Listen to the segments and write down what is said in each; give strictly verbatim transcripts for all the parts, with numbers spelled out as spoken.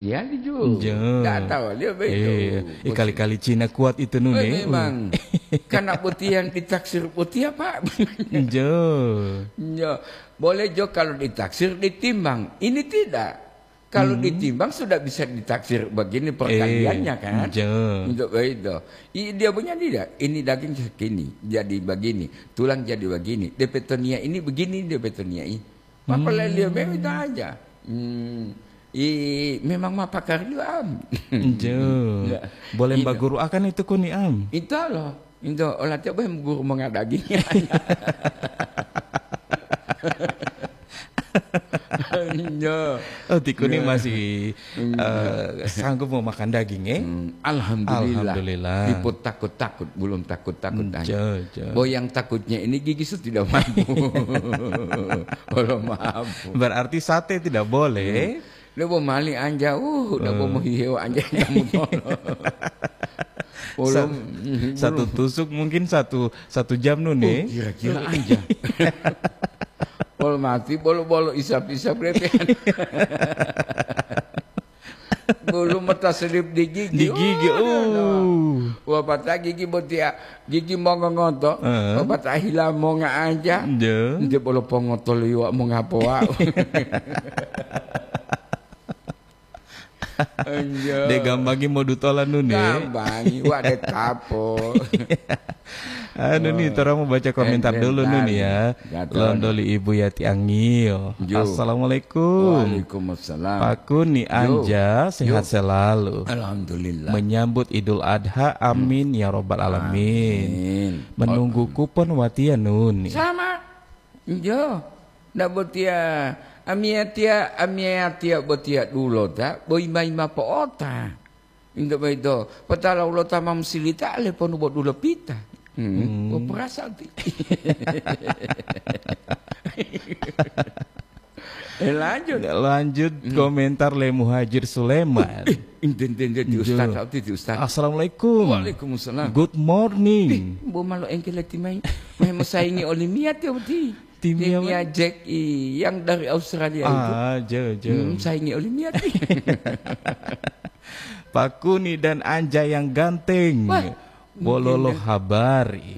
Ya, di Jo. Jo. Ndak tahu dia begitu. Iya. Eh, kali-kali Cina kuat itu, Nun, eh, eh. Memang. Karena botiya ditaksir botiya, Pak. Jo. Jo. Boleh Jo kalau ditaksir ditimbang. Ini tidak. Kalau ditimbang sudah bisa ditaksir begini perkaliannya, kan? Jo. Untuk begitu. I-, dia punya tidak. Ini daging segini, jadi begini. Tulang jadi begini. Depetonia ini begini, depetonia ini. Maka leliyo memang itu aja. Hmm. I, memang ma pakar juga, am. Jo. Ya. Boleh mbaguru akan itu kuni, am. Itu loh. Itu olah tiap boleh guru mengadagingnya. Jo. Oh, ti kuni masih, eh, sanggup mau makan daging, eh? Hmm, alhamdulillah. Alhamdulillah. Dipo takut-takut, belum takut-takut aja. Jo, jo. Bo yang takutnya ini gigi sudah tidak mampu. Kalau mampu. Berarti sate tidak boleh. Hmm. Lu bo mali anja, uh, udah bo mau hihewa anja kamu tolo. Sa-, belum, satu belum. Tusuk mungkin satu, satu jam, Nun, eh? Oh, kira-kira anja. Bolo mati, bolo-bolo isap-isap lepehan. Bulu mata selip di gigi. Di gigi, oh, no, no. Uh. Wapata gigi botia, gigi mongongoto. Heeh. Wapata hila monga aja. Nde. Nde bolo pongoto liwa mongapoa. Anjo. De gambangi modutola, Nun, eh? Gambangi, wa de tapo. Anu nih, oh, torang mau baca komentar dulu, Nun, ya. Ya, tolong. Londoli Ibu Yati Angio. Jo. Assalamualaikum. Waalaikumsalam. Pakuni, jo. Anja, sehat selalu. Alhamdulillah. Menyambut Idul Adha, amin ya robbal alamin. Amin. Menunggu kupon watiya, Nun. Sama. Jo. Ndak botiya, amiyatiya, amiyatiya botiya dulota, bo ima-ima po'ota. Into boyito, potala ulota ma musilita, leponu bo dulopita. Hmm, hmm. Bo perasa ti. Eh, lanjut. Lanjut, hmm, komentar le Muhajir Suleman. Eh, enten-enten ti, jo. Ustaz, apa ti, Ustaz? Assalamualaikum. Waalaikumsalam. Good morning. Ih, bo malo engkeleti mai. Mai mosaingi olimiyat ya, Uti. Timnya, timnya Jack I yang dari Australia itu. Ah, jo, jo. Hmm, saingi olimiyat. Pakuni dan Anja yang ganteng. Wah, bololo mungkin ya. Habari.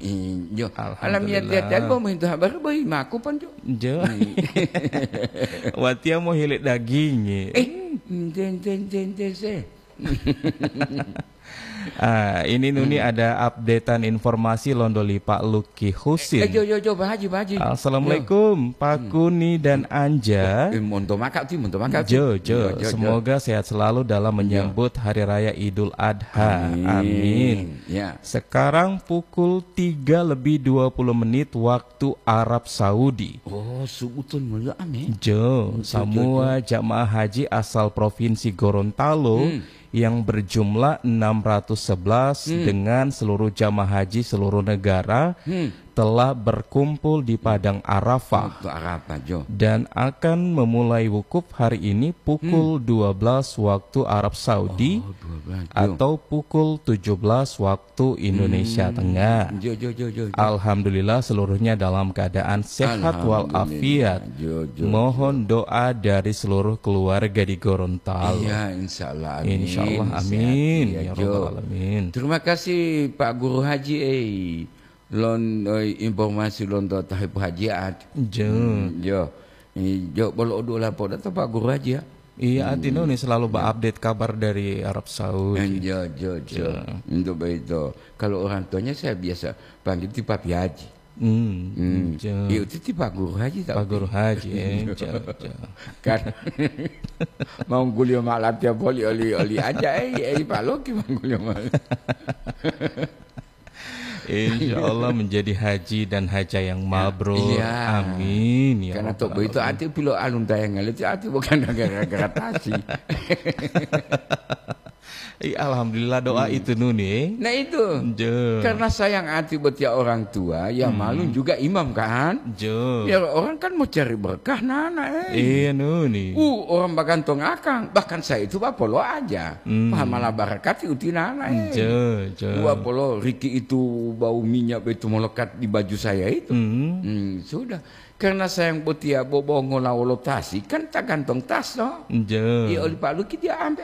Iyo. Alhamdulillah. Alamiya tiya-tiya bo mohintu habari bohi maku pon, jo. Jo. Hmm. Watiya mohile daging. Eh, enten, enten, enten, enten, se. Ah, ini Nuni, hmm, ada updatean informasi londoli Pak Luki Husin. Eh, jo, jo, jo, Pak Haji, Pak Haji. Assalamualaikum, jo. Pak Kuni dan Anja. Eh, monto maka ti, monto maka ti. Jo, jo. Jo, jo, jo. Semoga sehat selalu dalam, jo, menyambut Hari Raya Idul Adha. Amin. Amin. Ya. Sekarang pukul tiga lebih dua puluh menit waktu Arab Saudi. Oh, subuh tun mulia ame. Jo, jo, jo, samua jo. Jamaah haji asal Provinsi Gorontalo, hmm, yang berjumlah enam ratus sebelas, hmm, dengan seluruh jamaah haji seluruh negara, hmm, telah berkumpul di Padang Arafah. Waktu Arafah, jo. Dan akan memulai wukuf hari ini pukul, hmm, dua belas waktu Arab Saudi, oh, dua belas, jo, atau pukul tujuh belas waktu Indonesia, hmm, Tengah. Jo, jo, jo, jo, jo. Alhamdulillah, seluruhnya dalam keadaan sehat walafiat. Alhamdulillah. Jo, jo, mohon, jo, doa dari seluruh keluarga di Gorontalo. Iya, insya Allah, amin. Insya Allah, sehat, amin. Iya, ya, jo, robbal alamin. Terima kasih, Pak Guru Haji, eh, lon, eh, informasi lonto tahipu hajiat. Jo. Hmm, jo. Eh, jo, bolo odu lapor atau Pak Guru Haji, ya? Iya, hmm, artinya ini selalu, ya, ba-update kabar dari Arab Saudi. Eh, jo, jo, jo. Jo. Untuk begitu. Kalau orang tuanya saya biasa panggil ti Papi Haji. Hmm, hmm. Jo. Iya, itu ti Pak Guru Haji, tapi. Pak Guru Haji, eh, jo, jo. Kan mau guliyo malatiya poli oli, oli aja, eh, eh, Pak Loki mau guliyo mal-. Insya Allah menjadi haji dan haja yang mabrur. Iya. Amin, ya. Karena rabbal alamin. Tok begitu ati pilo alun tayang itu ati bukan gara-gara tasi. Ih, alhamdulillah doa itu, Nuni. Nah, itu. Jo. Karena sayang ati botia orang tua, ya, hmm, maklum juga imam, kan? Jo. Ya, orang kan mau cari berkah, nana, eh. Iya, Nuni. Uh, orang bagantong akang, bahkan saya itu bapolo aja. Hmm. Pahamala barakati uti nana, eh. Jo, jo. Dua polo riki itu bau minyak betu melekat di baju saya itu. Hmm. Hmm, sudah. Karena sayang botiya bobongola wolo tasi, kan ta gantong tas, to? Nje. Iya, oli Pak Luki dia ampe